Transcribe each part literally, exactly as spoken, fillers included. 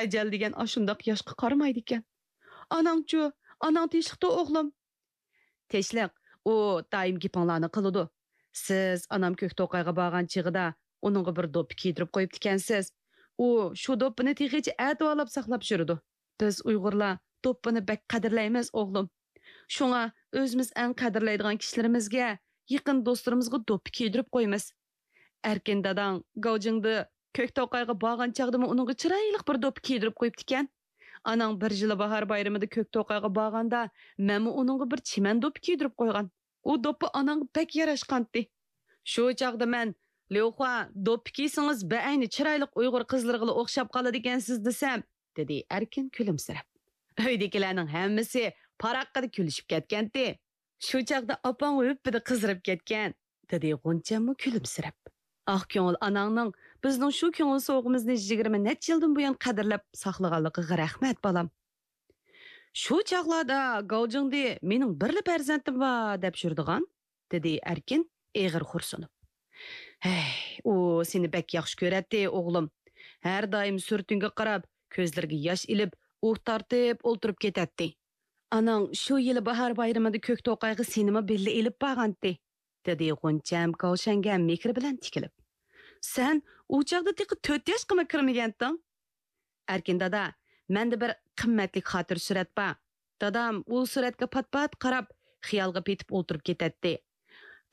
ئەجەل دېگەن ئاشۇنداق ياشقا قارىمايدىكەن. ئاناڭچۇ؟ ئاناڭ تىنچلىقتا ئوغلۇم؟ تىنچلىق، ئۇ دائىم گېپىڭلارنى قىلىدۇ. سىز ئانام كۆكتوقايغا بارغان چېغىدا ئۇنىڭغا بىر دوپپا كىيدۈرۈپ قويۇپتىكەنسىز. ئۇ شۇ دوپپىنى تېخىچە ئەتىۋارلاپ ساقلاپ يۈرىدۇ. بىز ئۇيغۇرلار دوپپىنى بەك قەدىرلەيمىز، ئوغلۇم. شۇڭا ئۆزىمىز ئەڭ قەدىرلەيدىغان كىشىلىرىمىزگە، يېقىن دوستلىرىمىزغا دوپپا كىيدۈرۈپ قويىمىز. ئەركىن داداڭ گاۋجىڭدا كۆكتوقايغا بارغان چاغدىمۇ ئۇنىڭغا چىرايلىق بىر دوپپا كىيدۈرۈپ قويۇپتىكەن. ئاناڭ بىر يىلى باھار بايرىمىدا كۆكتوقايغا بارغاندا، مەنمۇ ئۇنىڭغا بىر چىمەن دوپپا كىيدۈرۈپ قويغان. ئۇ دوپپا ئاناڭغا بەك ياراشقانتى. شۇ چاغدا مەن، «ليۇخۇا، دوپپا كىيسىڭىز بەئەينى چىرايلىق ئۇيغۇر قىزلىرىغىلا ئوخشاپ قالىدىكەنسىز» دېسەم، دېدى ئەركىن كۈلۈمسىرەپ. ئۆيدىكىلەرنىڭ ھەممىسى پاراققىدە كۈلۈشۈپ كەتكەنتى. شۇ چاغدا ئاپاڭ ھۈپپىدە قىزىرىپ كەتكەن، دېدى غۇنچەممۇ كۈلۈمسىرەپ. ئاق كۆڭۈل ئاناڭنىڭ بىزنىڭ شۇ كۆڭۈل سوۋغىمىزنى يىگىرمە نەچچە يىلدىن بۇيان قەدىرلەپ ساقلىغانلىقىغا رەھمەت، بالام. شۇ چاغلاردا گاۋجىڭدى مېنىڭ بىرلا پەرزەنتىم بار دەپ يۈرىدىغان، دېدى ئەركىن ئېغىر خورسۇنۇپ. ھەي، ئۇ سېنى بەك ياخشى كۆرەتتى، ئوغلۇم. ھەر دائىم سۈرىتىڭگە قاراپ، كۆزلىرىگە ياش ئېلىپ، ئۇھ تارتىپ ئولتۇرۇپ كېتەتتى. ئاناڭ شۇ يىلى باھار بايرىمىدا كۆكتوقايغا سېنىمۇ بىللە ئېلىپ بارغانتى، دېدى غۇنچەم كاۋشەنگە مېھرى بىلەن تىكىلىپ. سەن ئۇ چاغدا تېخى تۆت ياشقىمۇ كىرمىگەنتىڭ؟ ئەركىن دادا، مەندە بىر قىممەتلىك خاتىرە سۈرەت بار. دادام ئۇ سۈرەتكە پات-پات قاراپ، خىيالغا پېتىپ ئولتۇرۇپ كېتەتتى.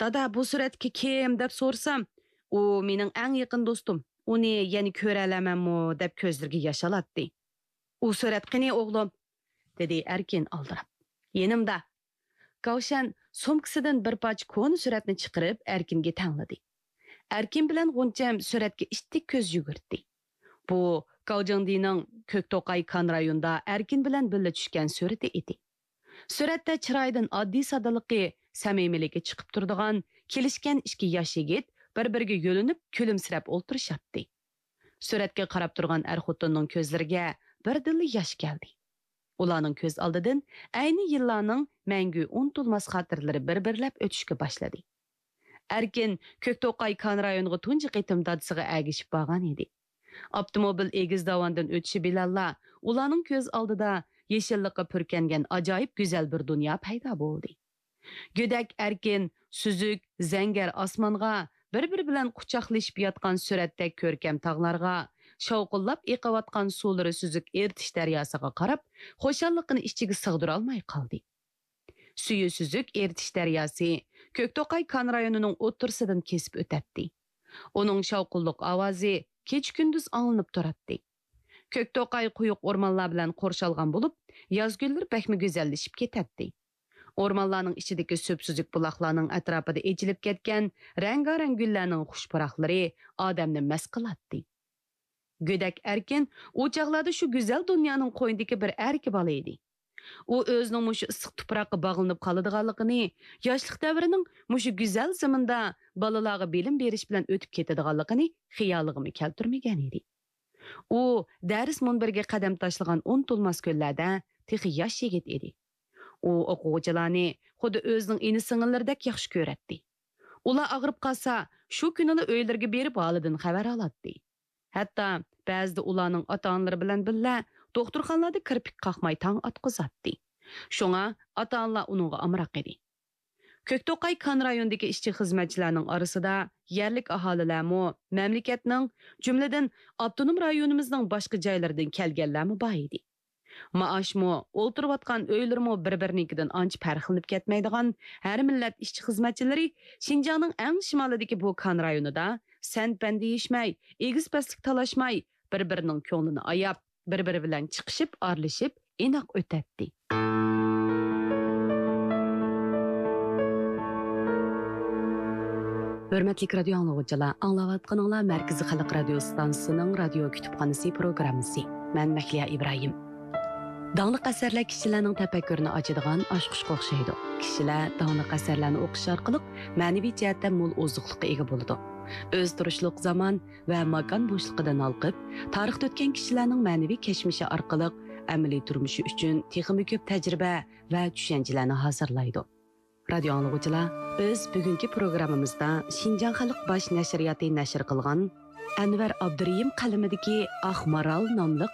دادا، بۇ سۈرەتتىكى كىم دەپ سورىسام، ئۇ مېنىڭ ئەڭ يېقىن دوستۇم، ئۇنى يەنە كۆرەلەرمەنمۇ دەپ كۆزلىرىگە ياش ئالاتتى. ئۇ سۈرەت قېنى، ئوغلۇم؟ دېدى ئەركىن ئالدىراپ. يېنىمدا. كاۋشەن سومكىسىدىن بىر پارچە كونا سۈرەتنى چىقىرىپ ئەركىنگە تەڭلىدى. ئەركىن بىلەن غۇنچەم سۈرەتكە ئىتتىك كۆز يۈگۈرتتى. بۇ گاۋجىڭدىنىڭ كۆكتوقاي كان رايونىدا ئەركىن بىلەن بىللە چۈشكەن سۈرىتى ئىدى. سۈرەتتە چىرايىدىن ئاددىي سادىلىقى، سەمىمىيلىكى چىقىپ تۇرىدىغان، كېلىشكەن ئىككى ياش يىگىت بىر-بىرىگە يۆلىنىپ كۈلۈمسىرەپ ئولتۇرۇشاتتى. سۈرەتكە قاراپ تۇرغان ئەر-خوتۇننىڭ كۆزلىرىگە بىردىنلا ياش كەلدى. ئۇلارنىڭ كۆز ئالدىدىن ئەينى يىللارنىڭ مەڭگۈ ئۇنتۇلماس خاتىرىلىرى بىر-بىرلەپ ئۆتۈشكە باشلىدى. ئەركىن كۆكتوقاي كان رايونىغا تۇنجى قېتىم دادىسىغا ئەگىشىپ بارغان ئىدى. ئاپتوموبىل ئېگىز داۋاندىن ئۆتۈشى بىلەنلا ئۇلارنىڭ كۆز ئالدىدا يېشىللىققا پۈركەنگەن ئاجايىپ گۈزەل بىر دۇنيا پەيدا بولدى. گۆدەك ئەركىن، سۈزۈك، زەڭگەر ئاسمانغا بىر-بىرى بىلەن قۇچاقلىشىپ ياتقان سۈرەتتەك كۆركەم تاغلارغا، شاۋقۇنلاپ ئېقىۋاتقان سۇلىرى سۈزۈك ئېرتىش دەرياسىغا قاراپ، خۇشاللىقىنى ئىچىگە سىغدۇرالماي قالدى. سۈيى سۈزۈك ئېرتىش دەرياسى كۆكتوقاي كان رايونىنىڭ ئوتتۇرىسىدىن كېسىپ ئۆتەتتى. ئۇنىڭ شاۋقۇنلۇق ئاۋازى كېچە-كۈندۈز ئاڭلىنىپ تۇراتتى. كۆكتوقاي قويۇق ئورمانلار بىلەن قورشالغان بولۇپ، ياز كۈنلىرى بەكمۇ گۈزەللىشىپ كېتەتتى. ئورمانلارنىڭ ئىچىدىكى سۈپسۈزۈك بۇلاقلارنىڭ ئەتراپىدا ئېچىلىپ كەتكەن رەڭگارەڭ گۈللەرنىڭ خۇش پۇراقلىرى ئادەمنى مەست قىلاتتى. گۆدەك ئەركىن ئۇ چاغلاردا شۇ گۈزەل دۇنيانىڭ قوينىدىكى بىر ئەركە بالا ئىدى. ئۇ ئۆزىنىڭ مۇشۇ ئىسسىق تۇپراققا باغلىنىپ قالىدىغانلىقىنى، ياشلىق دەۋرىنىڭ مۇشۇ گۈزەل زېمىندا بالىلارغا بىلىم بېرىش بىلەن ئۆتۈپ كېتىدىغانلىقىنى خىيالىغىمۇ كەلتۈرمىگەن ئىدى. ئۇ دەرس مۇنبىرىگە قەدەم تاشلىغان ئۇنتۇلماس كۈنلەردە تېخى ياش يىگىت ئىدى. ئۇ ئوقۇغۇچىلارنى خۇددى ئۆزىنىڭ ئىنى-سىڭىللىرىدەك ياخشى كۆرەتتى. ئۇلار ئاغرىپ قالسا، شۇ كۈنىلا ئۆيلىرىگە بېرىپ ھالىدىن خەۋەر ئالاتتى. ھەتتا بەزىدە ئۇلارنىڭ ئاتا-ئانىلىرى بىلەن بىللە دوختۇرخانىلاردا كىرپىك قاقماي تاڭ ئاتقۇزاتتى. شۇڭا ئاتا-ئانىلار ئۇنىڭغا ئامراق ئىدى. كۆكتوقاي كان رايونىدىكى ئىشچى-خىزمەتچىلەرنىڭ ئارىسىدا يەرلىك ئاھالىلەرمۇ، مەملىكەتنىڭ، جۈملىدىن ئاپتونوم رايونىمىزنىڭ باشقا جايلىرىدىن كەلگەنلەرمۇ بار ئىدى. مائاشمۇ، ئولتۇرۇۋاتقان ئۆيلىرىمۇ بىر-بىرىنىڭكىدىن ئانچە پەرقلىنىپ كەتمەيدىغان ھەر مىللەت ئىشچى-خىزمەتچىلىرى شىنجاڭنىڭ ئەڭ شىمالىدىكى بۇ كان رايونىدا سەن-پەن دېيىشمەي، ئېگىز-پەسلىك تالاشماي، بىر-بىرىنىڭ كۆڭلىنى ئاياپ، بىر-بىرى بىلەن چىقىشىپ، ئارىلىشىپ، ئىناق ئۆتەتتى. ھۆرمەتلىك رادىيو ئاڭلىغۇچىلار، ئاڭلاۋاتقىنىڭلار مەركىزىي خەلق رادىيو ئىستانسىسىنىڭ رادىيو كۇتۇپخانىسى پروگراممىسى. مەن مەھلىيا ئىبراھىم. داڭلىق ئەسەرلەر كىشىلەرنىڭ تەپەككۇرىنى ئاچىدىغان ئاچقۇچقا ئوخشايدۇ. كىشىلەر داڭلىق ئەسەرلەرنى ئوقۇش ئارقىلىق مەنىۋى جەھەتتە مول ئوزۇقلۇققا ئىگە بولىدۇ. ئۆزى تۇرۇشلۇق زامان ۋە ماكان بوشلۇقىدىن ھالقىپ، تارىختا ئۆتكەن كىشىلەرنىڭ مەنىۋى كەچمىشى ئارقىلىق ئەمەلىي تۇرمۇشى ئۈچۈن تېخىمۇ كۆپ تەجرىبە ۋە چۈشەنچىلەرنى ھازىرلايدۇ. رادىيو ئاڭلىغۇچىلار، بىز بۈگۈنكى پروگراممىمىزدا شىنجاڭ خەلق باش نەشرىياتى نەشر قىلغان ئەنۋەر ئابدۇرېھىم قەلىمىدىكى ئاق مارال ناملىق